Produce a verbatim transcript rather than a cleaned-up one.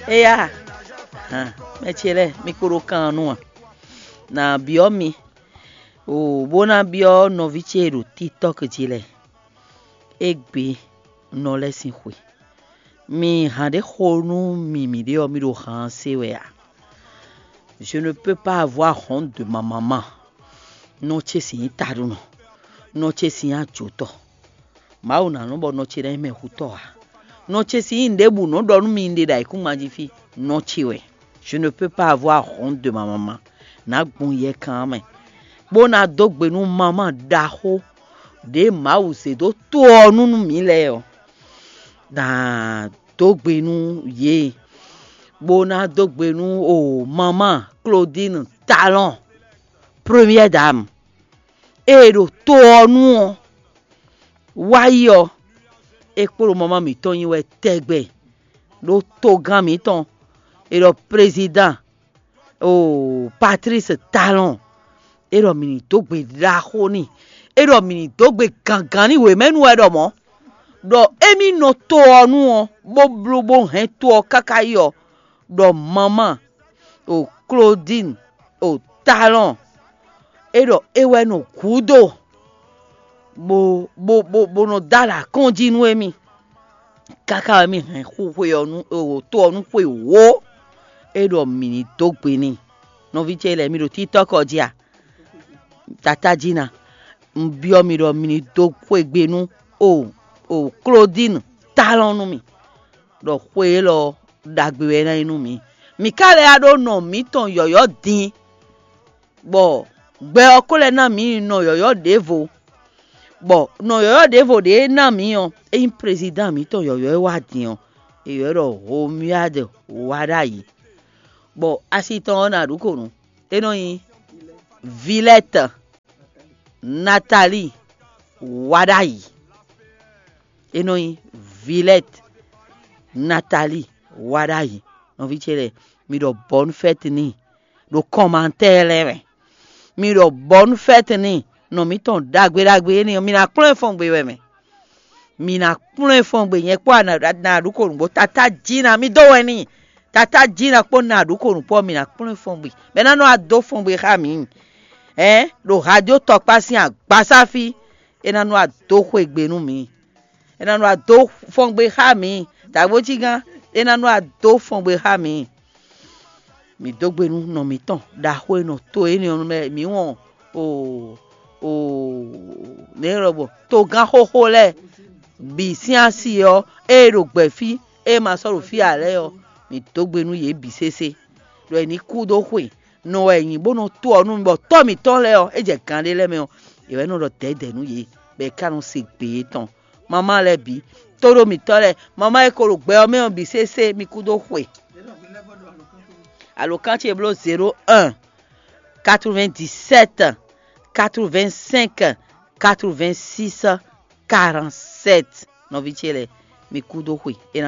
Éyá, hàn, mɛ ce lɛ́ɛ, mi kpo ɖo kan ɔ́ nu a? Nǎ byɔ́ mi, o bó ná byɔ́ nɔví ce e ɖo TikTɔ́k jí lɛ́ɛ. Égbé nɔ lɛ́ɛ sín xwe. Mi hǎn ɖé xo nú mi mǐɖée ɔ́, mi ɖo han ɔ́ se wɛ a? Je ne peux pas avoir honte de ma maman. Nɔ ce sín nyí taɖunɔ, nɔ ce sín nyí ajotɔ. Mawu ná nɔ bɔ nɔ ce ná nyí mɛhutɔ́ ǎ. Nɔ ce sín nyí ɖěbǔ nɔ ɖɔ nú mi ɖe ɖo ayǐkúngban jí fí, nɔ ce wɛ. Je ne peux pas avoir honte de ma maman. Nǎ gbɔn yɛkan ɔ́ mɛ, bó ná dó gbe nú maman ɖaxó ɖě Mawu zě dó to ɔ́ nu nú mǐ lɛ́ɛ ɔ́. Ná dó gbe nú yě, bó ná dó gbe nú o maman Claudine Talon, première dame, e ɖo to ɔ́ nu ɔ́, wá yi ɔ́, é kpó ɖo maman mǐtɔn nyi wɛ tɛgbɛ ɖó togán mǐtɔn, è ɖɔ président o Patrice Talon, é ɖɔ mǐ ní dó gbe ɖaxó n'i, é ɖɔ mǐ ní dó gbe gǎngán n'i wěmɛnu wɛ ɖɔ mɔ̌, ɖɔ émí nɔ to ɔ́ nu ɔ́, bó bló bó hɛn to ɔ́ káká yi ɔ́, ɖɔ maman o Claudine o Talon, é ɖɔ é wɛ nɔ gǔdo bó bó bó bó nɔ dó alɔ akɔ́njí nú émí. Káká wɛ mì hɛn xu xwe ɔ́ nú to ɔ́ nú xwe wǒ, é ɖɔ mǐ ní dó gbe n'i. Nɔví ce lɛ́ɛ, mi ɖo TikTɔ́k ɔ́ jí a? Tatájí ná, un byɔ́ mi ɖɔ mi ní dó xwegbe nú o o Claudine Talon nú mì, ɖɔ xwe élɔ́ ɔ́ ɖagbe wɛ é ná nyí nú mǐ. Mǐ ka lɛ́ wá ɖó nɔ mǐtɔn yɔ̌yɔ́ din, bɔ gbɛ ɔ́ ko lɛ́ ná mǐ nɔ yɔ̌yɔ́ ɖěvo, bɔ nɔ yɔ̌yɔ́ ɖěvo ɖě e ná mǐ ɔ́, é nyí prezidán mǐtɔn yɔ̌yɔ́ e wá din ɔ́, è ylɔ́ ɖɔ Romuald Wadagni, bɔ asi tɔn ɔ́ ná ɖu kǒ nú é nɔ nyí Vilɛ́tɛ Natalíi Wadagni. É nɔ nyí Vilɛ́tɛ Natalíi Wadagni. Nɔví ce lɛ́ɛ, mi ɖɔ bɔ̌nu fɛ́ti n'i ɖo kɔmantɛ́ɛ lɛ́ɛ mɛ. Mi ɖɔ bɔ̌nu fɛ́ti n'i, nɔ mǐtɔn ɖagbe ɖagbe énɛ́ ɔ́, mi ná kplɔ́n ɛ fɔ́n gbe wɛ mɛ. Mi ná kplɔ́n ɛ fɔ́n gbe, nyɛ kpó ná ɖu kǒ nǔgbó. Tatá jí ná mi dó wɛn n'i. Tatá jí ná kpó ná ɖu kǒ nǔgbó, mi ná kplɔ́n ɛ fɔ́n gbe. Bɛ ná nɔ adó fɔ́n gbe xá mǐ. Ɛ̌, ɖo hadió tɔkpá sín agbasá fí, é ná nɔ adó xwe gbe nú mǐ. É ná nɔ adó fɔ́n gbe xá mǐ. Dǎgbójígán, é ná nɔ adó fɔ́n gbe xá mǐ. Mǐ dó gbe nú nɔ mǐtɔn ɖaxó e nɔ to énɛ́ ɔ́ nu mɛ, mǐ wɔn o o nɛ̌ lɔ bɔ togán xóxó lɛ́ɛ bǐ sín asi ɔ́, ée ɖo gbɛ̌ fí, ée ma sɔ́ ɖo fí ǎ lɛ́ɛ ɔ́, mǐ dó gbe nú yě bǐ sésé, ɖɔ è ní kú dó xwe. Nɔ wɛ è nyǐ bó nɔ to ɔ́ nú mì, bɔ tɔ́ mǐtɔn lɛ́ɛ ɔ́, é jɛ gan ɖé lɛ́ɛ mɛ ɔ́, yě wɛ nɔ ɖɔ dɛ̌dɛ̌ nú yě, bɔ è ka nɔ se gbě yětɔn. Mamá lɛ́ɛ bǐ, tóɖó mǐtɔn lɛ́ɛ, mamá e ko ɖo gbɛ ɔ́ mɛ ɔ́ bǐ sésé, mi kú dó xwe. Alǒkan ce bló zéro un, quatre-vingt-dix-sept, quatre-vingt-cinq, quatre-vingt-six, quarante-sept. Nɔví ce lɛ́ɛ, mi kú dó xwe. É ná